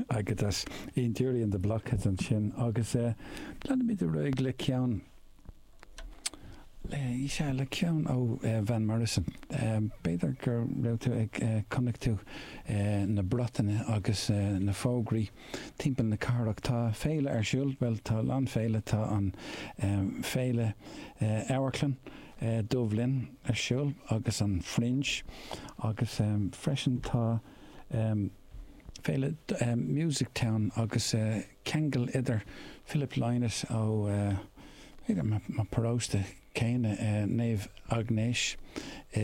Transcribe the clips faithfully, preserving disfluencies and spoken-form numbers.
Agat as Ian Dury and the Blockheads ansin agus leanfaimid ar aghaidh le ceann le sé le ceann ó Van Morrison. B'fhéidir go raibh tú ag chonaic tú na bratanna agus na fógraí timpeall na cathrach tá féile ar siúl, well tá lán féile tá an féile amharclann Dubh Linn ar siúl agus an Fringe agus freisin tá féile Music Town agus ceangal idir Philip Lynott ó mo paróiste céanna Naomh Agnes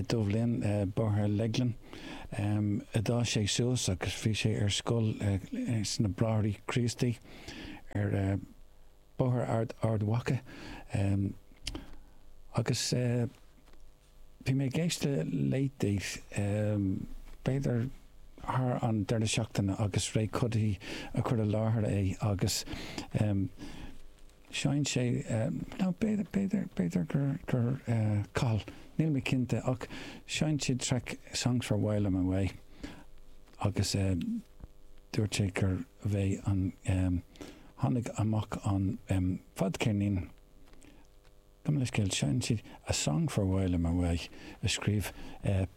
Dubh Linn Bóthar Leighlin a d'fhás sé suas agus bhí sé ar scoil sna Bráithre Críostaí ar Bóthar Ard Ard Mhacha agus bhí mé ag éisteacht le Late Date b'fhéidir thar an deireadh seachtaine agus Ray Cuddy a chur i láthair é agus sheinn sé nó b'fhéidir b'fhéidir b'fhéidir gur gur Cathal níl mé cinnte ach sheinn siad track Songs for While I'm Away agus dúirt sé gur bhí an tháinig amach an fadcheirnín Gabh mo leithscéal sheinn siad a Song for While I'm Away a scríobh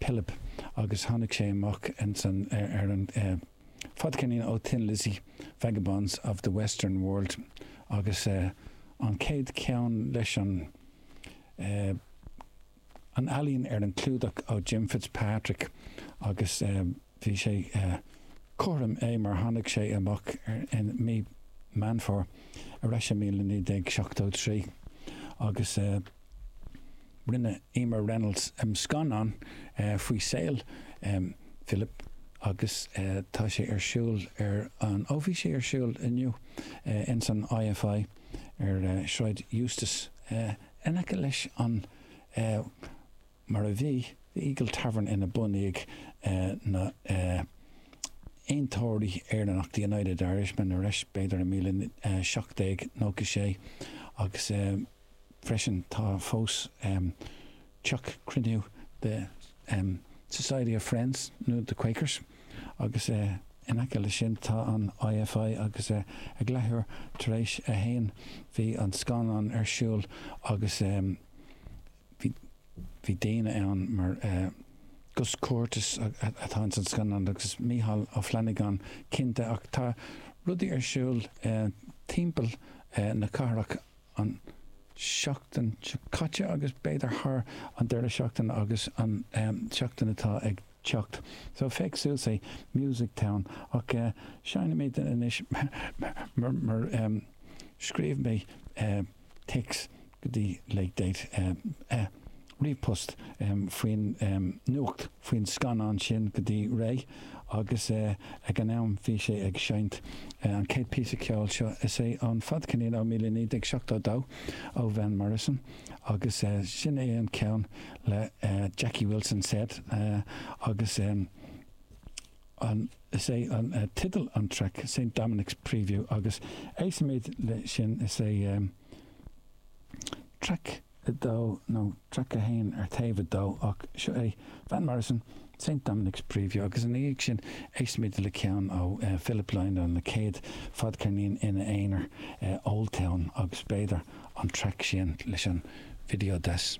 Pilib agus tháinig sé amach san ar an fadcheirnín ó Thin Lizzy Vagabonds of the Western World agus an chéad cheann leis an an ealaín ar an clúdach ó Jim Fitzpatrick agus bhí sé cothrom é mar tháinig sé amach in mí Meán Fómhair ar ais i míle naoi déag seachtó trí agus rinne Emer Reynolds scannán faoi saol Philip agus tá sé ar siúl ar an ó bhí sé ar siúl inniu ins an IFI ar Sráid Eustace in aice leis an mar a bhí The Eagle Tavern ina bunaíodh na Aontóirí Éireannach the United Irishmen ar ais b'fhéidir i míle seacht déag nócha sé agus freisin tá fós teach cruinniú the Society of Friends nó the Quakers agus in aice leis sin tá an IFI agus ag leathuair tar éis a haon bhí an scannán ar siúl agus bhí bhí daoine ann mar Gus Curtis atá ins an scannán agus Mícheál Ó Flanagáin cinnte ach tá rudaí ar siúl timpeall na cathrach an seachtain seo caite agus b'fhéidir thar an deireadh seachtaine agus an seachtain atá ag teacht. So féach suas é Music Town ach seinnimid anois mar mar scríobh mé téacs go dtí Late Date ríomhphost faoin nuacht faoin scannán sin go dtí Ray agus ag an am bhí sé ag seinnt an chéad píosa ceoil seo is é an fadcheirnín ó míle naoi déag seachtó dó ó Van Morrison agus sin é an ceann le Jackie Wilson said agus an is é an teideal an track St Dominic's Preview agus éistfimid le sin is é track a dó nó track a haon ar taobh a dó ach seo é Van Morrison St Dominic's Preview agus ina dhiaidh sin éistfimid le ceann ó Philip Lynott na chéad fadcheirnín ina aonar Old Town agus b'fhéidir an track sin leis an video deas.